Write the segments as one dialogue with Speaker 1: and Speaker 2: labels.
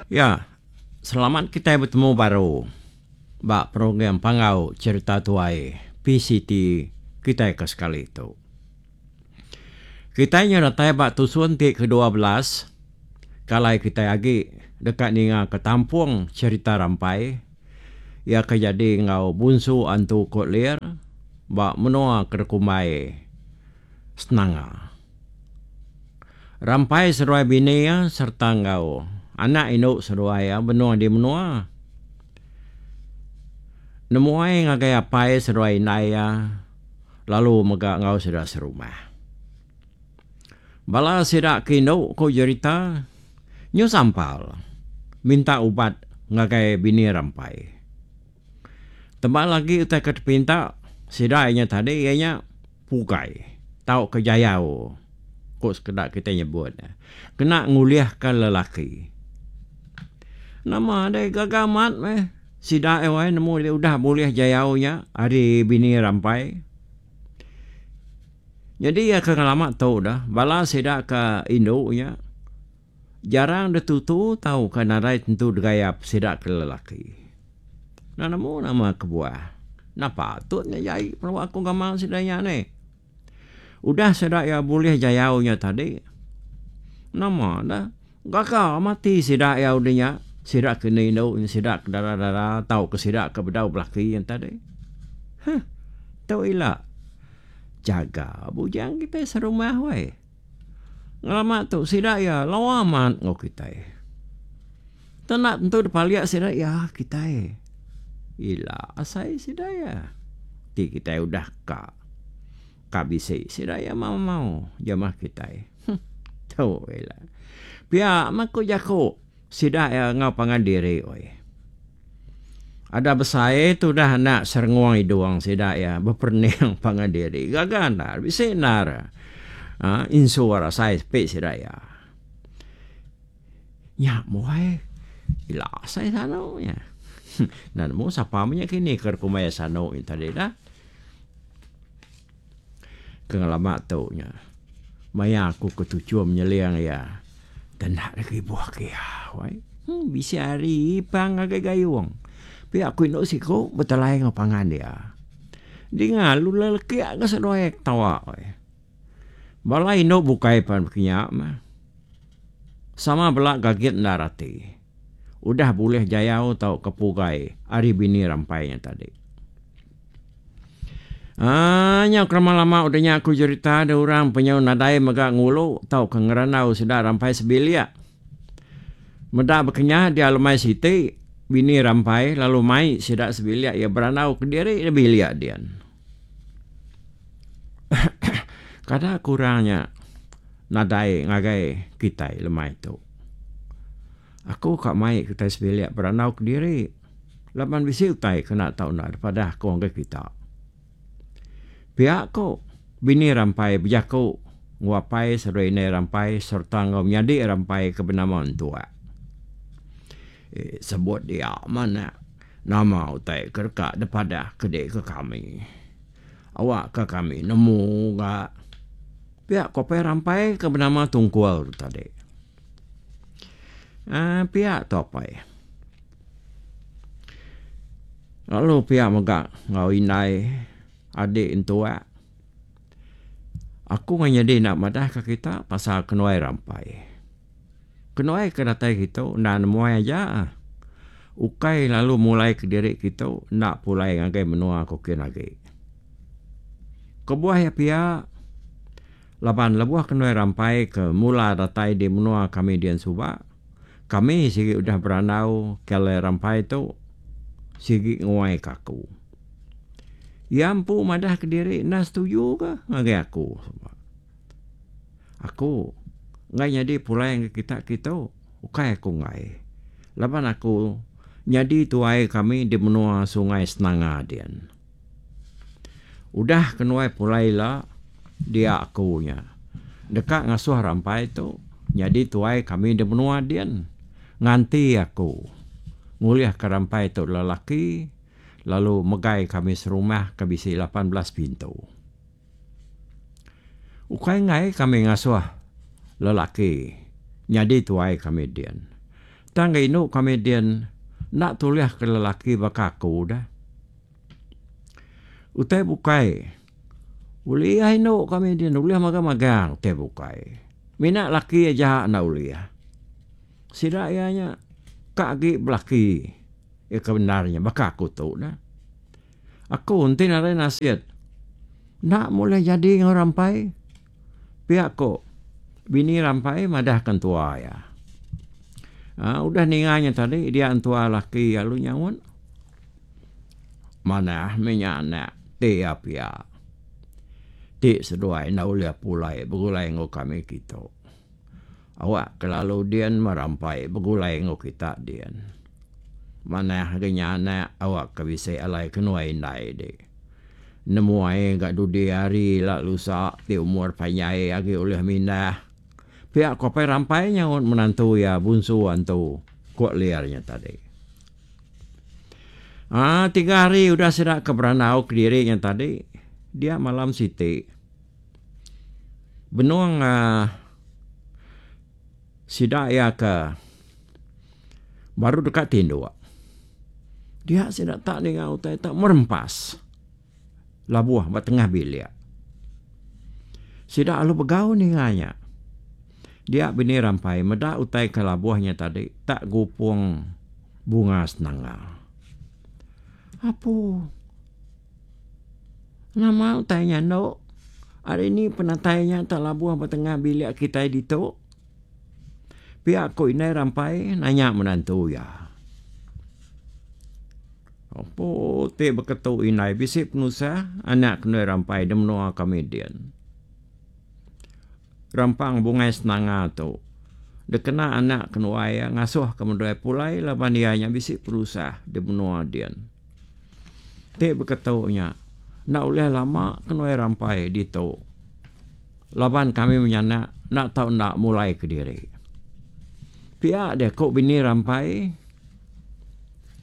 Speaker 1: Ya, selamat kitai betemu baru ba program Panggau Cherita Tuai PCT kitai ke sekali tu. Kitai nyau datai ba tusun ti ke-12 ke alai kitai agi deka ninga ke tampung cherita rampai iya ke jadi enggau Bunsu Antu Kok Lir ba menua ke dikumbai Senanga. Rampai seduai bini iya sereta enggau anak indu seduai iya benung di menua. Nemuai ngagai apai seduai indai iya lalu mega enggau sida serumah. Bala sida ke indu ku jerita nyu sampal minta ubat ngagai bini Rampai. Tebal agi utai ke tepinta sida iya nya tadi iya nya pugai tauka jayau ku sekeda kitai nyebut ne kena ngulihka lelaki. Nama deh gaga amat meh sida iya wai nemu diri udah bulih jayau nya ari bini Rampai. Nyadi iya ke ngelama tu dah bala sida ke indu nya jarang deh tutu tauka nadai tentu degayap sida ke lelaki. Enda nemu nama kebuah. Enda patut nya jai pelawa aku gamal sida nya neh. Udah sida iya bulih jayau nya tadi, nama deh gaga mati sida iya udah nya, sida ke indu indu sida ke dara dara tauka sida ke bedau belaki nya tadi. Huh tu ila jaga bujang kitai serumah weh. Ngelama tu sida iya lawa amat enggau kitai. Tenda tentu dipalik sida iya kitai. Ila asai sida iya ti kitai udah ka ka bisi sida iya mau mau jamah kitai. Huh tu ila. Pia meh ku jaku sida iya enggau pangan diri weh. Ada besai tudah anak serengung idung sida iya beperening pangan diri. Gaga endar, bisi endar uhh insur asai sepi sida iya. Nya buai ila asai sanu nya. Enda nemu sapa meh nya kini ke kumbai sanu nya tadi dah. Ke ngelama tu nya maya aku ke tuchum nyeling iya enda deka ibuh ke iya wai. Bisi hari ipang ngagai gayung pia ku indu siku betelai enggau pangan iya. Dinga lu lelekik ga seduai ketawa wai. Bala indu bukai pan bekinya mah. Sama bela gagit endar ati. Udah bulih jayau tauka pugai ari bini rampai nya tadi. Aaa nyau kelama lama udah nya aku jerita da orang penyau nadai mega ngulu tauka ngerandau sida rampai sebilik. Meda bekenyah dia lemai siti, bini rampai lalu mai sida sebilik iya berandau kediri da bilik din. Kada kurang nya nadai ngagai kitai lemai tu. Aku ka mai kitai sebilik berandau kediri. Laban bisi utai kena tau enda dipadah aku ngagai kita. Pia ku bini Rampai bejaku enggau apai seduai indai Rampai sereta enggau menyadi Rampai ke benama Entuak. Sebut dia meh nama utai ke deka dipadah ke dek ke kami. Awak ke kami nemu ga. Pia ku apai Rampai ke benama Tungkul tu tadi. Aaa pia tu apai. Lalu pia mega enggau indai adi entua aku meh nyadi enda madah ka kita pasal kenuai rampai. Kenuai ke datai kitu enda nemuai aja ukai lalu mulai kediri kitu enda pulai ngagai menua ku kin agi. Kebuah iya pia laban lebuh kenuai rampai ke mula datai di menua kami dian suba Kami sigi udah berandau ke alai rampai tu sigi nguai ke aku. Iya empu madah kediri enda setuju ke ngagai aku. Aku enggai nyadi pulai ngagai kita kitu ukai aku enggai laban aku nyadi tuai kami di menua Sungai Senanga din. Udah kenuai pulai ila dia aku nya deka ngasuh rampai tu nyadi tuai kami di menua din nganti aku ngulihka rampai tu lelaki lalu megai kami serumah ke bisi 18 pintu. Ukai enggai kami ngasuh lelaki nyadi tuai kami din. Tang ga indu kami din enda tulih ke lelaki baka aku dah. Utai bukai ulih indu kami din ulih magang-magang utai bukai. Mina laki aja enda ulih. Sida iya nya ka agi belaki iya ke bendar nya baka aku tu dah. Aku enti nadai nasit enda meh ulih jadi enggau rampai. Pia ko bini Rampai madah ke entua iya. Aa udah ninga nya tadi dia entua laki iya lalu nyaut manah meh nya anak ti iya pia. Ti seduai enda ulih pulai begulai enggau kami kitu. Awak ke lalu din meh Rampai begulai enggau kita din. Manah agi nya anak awak ke bisi alai kenuai indai di. Nemuai ga dudi hari ila lusa ti umur panjai agi ulih mindah. Pia ku Apai Rampai nyaut menantu iya Bunsu Antu, ku Lir nya tadi. Aa tiga hari udah sida ke berandau kediri nya tadi, dia malam siti benung aaa sida iya ke baru deka tinduk. Dia sida tak ninga utai tak merempas labuh ba tengah bilik. Sida lalu begau ninga nya. Dia bini rampai meda utai ke labuh nya tadi tak gupung bunga senanga. Apu. Nama utai nya endo. Ari ni penatai nya tak labuh ba tengah bilik kitai ditu. Pia ku indai Rampai nanya menantu iya. Empu ti beketu indai bisi penusah anak ke indai Rampai di menua kami din. Rampang Bungai Senanga tu dikena anak kenuai iya ngasuh ke menduai pulai laban iya nya bisi penusah di menua din. Ti beketu nya enda ulih lama kenuai Rampai ditu. Laban kami menyanak enda tau enda mulai kediri. Pia deh ku bini Rampai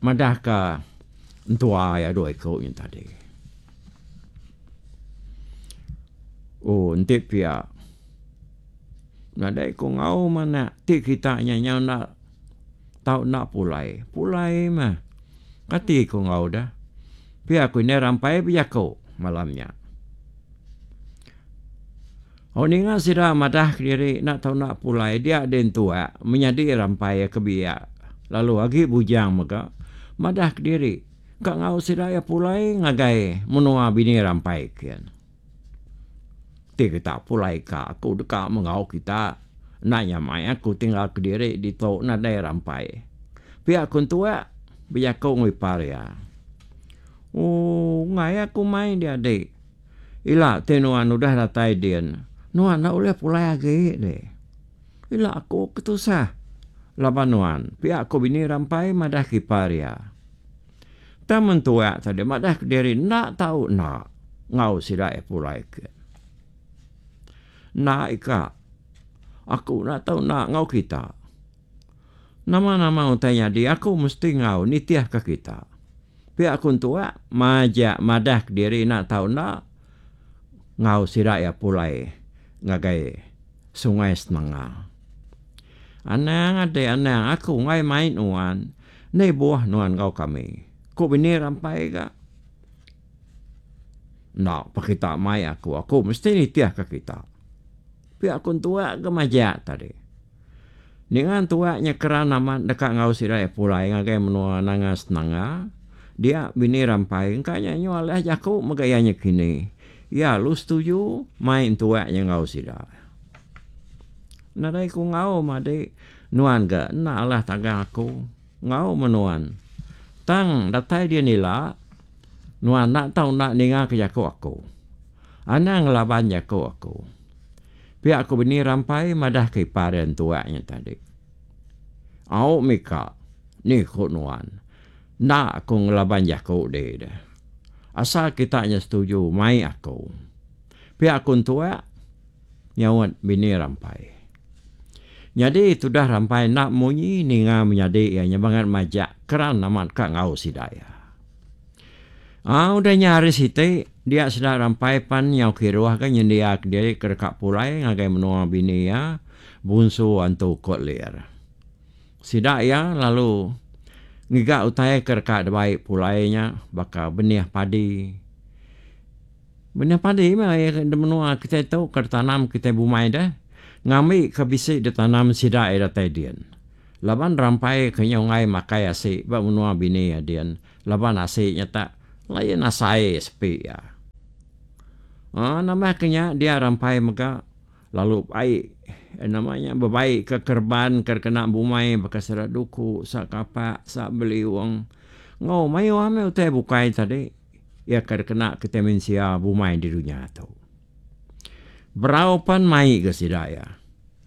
Speaker 1: madahka entua iya dua iku nya tadi. Oh enti pia nadai ku enggau manak ti kita nya nyau enda tau enda pulai. Pulai mah kati ku enggau deh. Pia ku indai Rampai bejaku malam nya. Oh ninga sida madah kediri enda tau enda pulai dia deh entua menyadi Rampai ke biak lalu agi bujang mega madah kediri ka enggau sida iya pulai ngagai menua bini Rampai kin. Ti kita pulai ka aku deka menggau kita enda nyamai aku tinggal kediri ditu nadai Rampai. Pia ku entua bejaku enggau ipar iya. Ooh enggai aku mai dia dik. Ila ti nuan udah datai din, nuan enda ulih pulai agi deh. Ila aku ke tusah laban nuan, pia ku bini Rampai madah ke ipar iya. Tang mentua tadi madah kediri enda tau enda enggau sida iya pulai ke. Enda ika, aku enda tau enda enggau kita. Nama-nama utai nyadi aku mesti enggau nitihka kita. Pia ku entua majak madah kediri enda tau enda enggau sida iya pulai ngagai Sungai Senanga. Anang ade anang aku enggai mai nuan enda ibuh nuan enggau kami, ku bini Rampai ga. Enda pa kita mai aku, aku mesti nitihka kita. Pia ku entua ga majak tadi. Ninga entua nya keran amat deka enggau sida iya pulai ngagai menua Nanga Senanga, dia bini Rampai engka nya nyu alih jaku mega iya nya kini. Iya lalu setuju mai entua nya enggau sida. Nadai ku enggau madi nuan ga enda alah tagang aku enggau meh nuan. Tang datai din ila nuan enda tau enda ninga ke jaku aku. Anang ngelaban jaku aku. Pia ku bini Rampai madah ke ipar iya entua nya tadi. Au mika, ni ku nuan. Enda aku ngelaban jaku dih deh. Asal kita nya setuju mai aku. Pia ku entua nyaut bini Rampai. Nyadi tudah Rampai enda munyi ninga menyadi iya nya bangat majak keran amat ka enggau sida iya. Aa udah nya hari siti, dia sida Rampai pan nyau kiruh ga nyendia kediri ke deka pulai ngagai menua bini iya, Bunsu Antu Kot Lir. Sida iya lalu ngiga utai ke deka dibai pulai nya baka benih padi. Benih padi meh di menua kitai tu ke ditanam kitai bumai deh ngambi ke bisi ditanam sida iya datai din. Laban rampai ke nyau enggai makai asi ba menua bini iya din laban asi nya tak lain asai sepi iya. Aaa nambah ke nya dia rampai mega Lalu ai nama nya bebai ke kereban ke dikena bumai baka sida duku, sa kapak, sa beliung enggau mayuh meh utai bukai tadi iya ke dikena kitai mensia bumai di dunya tu. Berau pan mai ga sida iya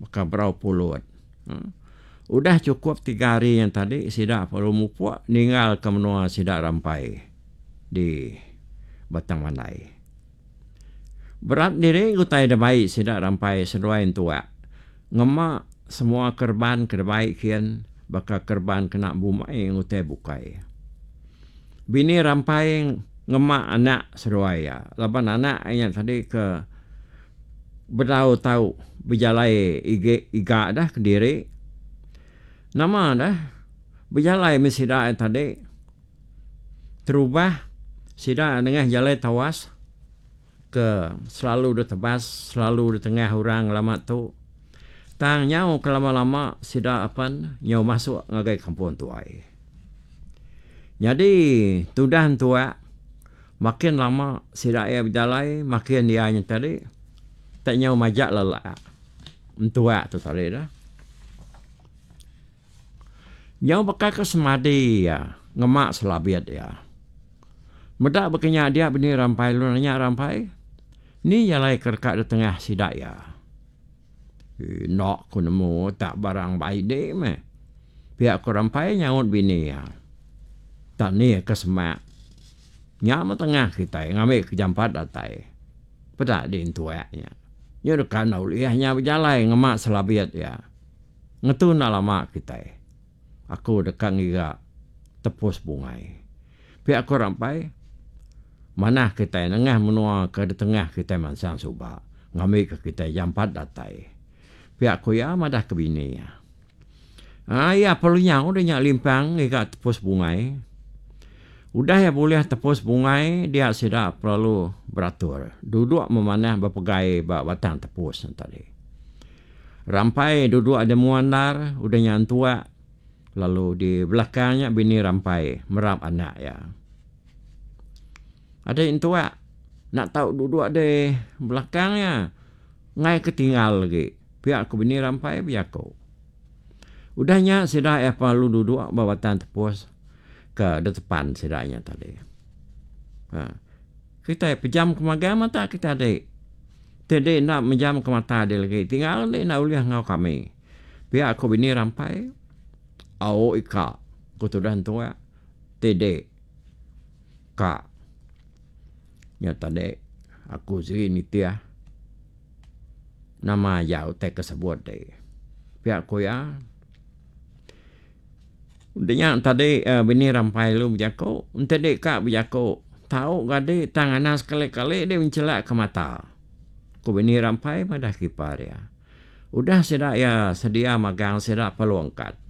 Speaker 1: baka berau pulut. Udah chukup tiga hari nya tadi sida perlu mupuk ninggalka menua sida rampai di Batang Mandai. Berat diri utai da bai sida rampai seduai entuak. Ngema semua kereban ke dibai kin baka kereban kena bumai enggau utai bukai. Bini rampai ngema anak seduai iya laban anak iya tadi ke bedau tau bejalai igi iga dah kediri. Nama dah bejalai meh sida iya tadi. Terubah sida nengah jalai tawas ke selalu ditebas selalu ditengah orang ngelama tu tang nyau ke lama-lama sida apan nyau masuk ngagai kampung tuai. Nyadi tudah entuak makin lama sida iya bejalai makin iya nya tadi tak nyau majak lelak entuak tu tadi dah. Nyau baka ke semadi iya ngema selabit iya. Meda baka nya dia bini Rampai lalu nanya Rampai, Ni jalai ke deka ditengah sida iya? Enda ku nemu tak barang bai di meh. Pia ku Rampai nyaut bini iya. Tak ni ke semak. Nya meh tengah kitai ngambi ke jampat datai. Peda di entuak nya. Nya deka enda ulih nya bejalai ngema selabit iya. Ngetu enda lama kitai. Aku deka ngiga tepus bungai. Pia ku Rampai, manah kitai nengah menua ke ditengah kitai mansang suba ngambika kitai jampat datai. Pia ku iya madah ke bini iya. Aa iya perlu nyau deh nya limpang ngiga tepus bungai. Udah iya bulih tepus bungai dia sida perlu beratur duduk memanah bepegai ba batang tepus ne tadi. Rampai duduk di mua endar udah nya entuak lalu di belakang nya bini Rampai merap anak iya. Adi entuak enda tau duduk di belakang iya enggai ke tinggal agi pia ku bini Rampai bejaku. Udah nya sida iya lalu duduk ba batang tepus ke detepan sida nya tadi. Ha. Kitai pejam ke magang mata kitai adi. Ti di enda mejam ke mata di legi tinggal di enda ulih enggau kami. Pia ku bini Rampai, Au ika, ku tudah entua, ti di ka nya tadi aku sigi nitih nama aja utai ke sebut ti. Pia ku iya. Udah nya tadi bini Rampai lalu bejaku, enti di ka bejaku tau ga di tang anang sekali-kali di menchelak ke mata. Ku bini Rampai madah ke ipar iya. Udah sida iya sedia magang sida perlu angkat.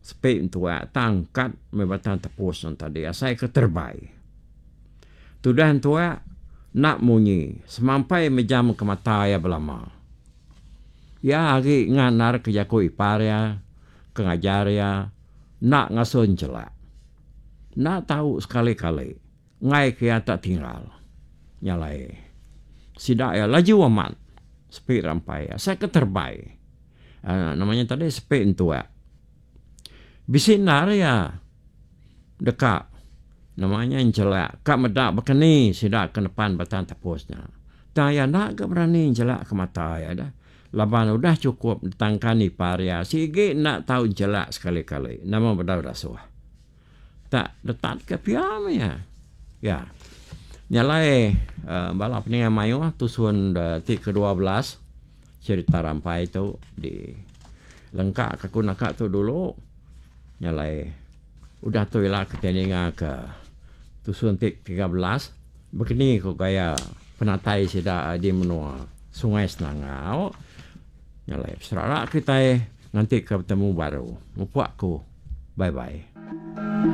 Speaker 1: Sepi entua tang angkat meh batang tepus ne tadi asai ke terebai. Tudah entua enda munyi semampai mejam ke mata iya belama. Iya agi ngandar ke jaku ipar iya ke ngajar iya enda ngasuh enchelak. Enda tau sekali-kali enggai ke iya tak tinggal. Nya alai sida iya laju amat sepi rampai asai ke terebai uhh nama nya tadi sepi entuak. Bisi endar iya deka nama nya enchelak ka meda baka ni sida ke nepan batang tepus nya. Tang iya enda ga berani njelak ke mata iya dah laban udah chukup ditangkan ipar iya sigi enda tau njelak sekali-kali nama bedau dasuh. Tak detat ke pia meh iya. Ya. Nya alai uhh bala peninga mayuh tusun ti ke 12 cherita rampai tu di lengka ka ku naka tu dulu. Nya alai udah tu ila kitai ninga ke tusun ti 13. Bekeni ku gaya penatai sida di menua Sungai Senangau. Nya alai beserara kitai. Nganti ke betemu baru. Mupuk aku. Bye bye.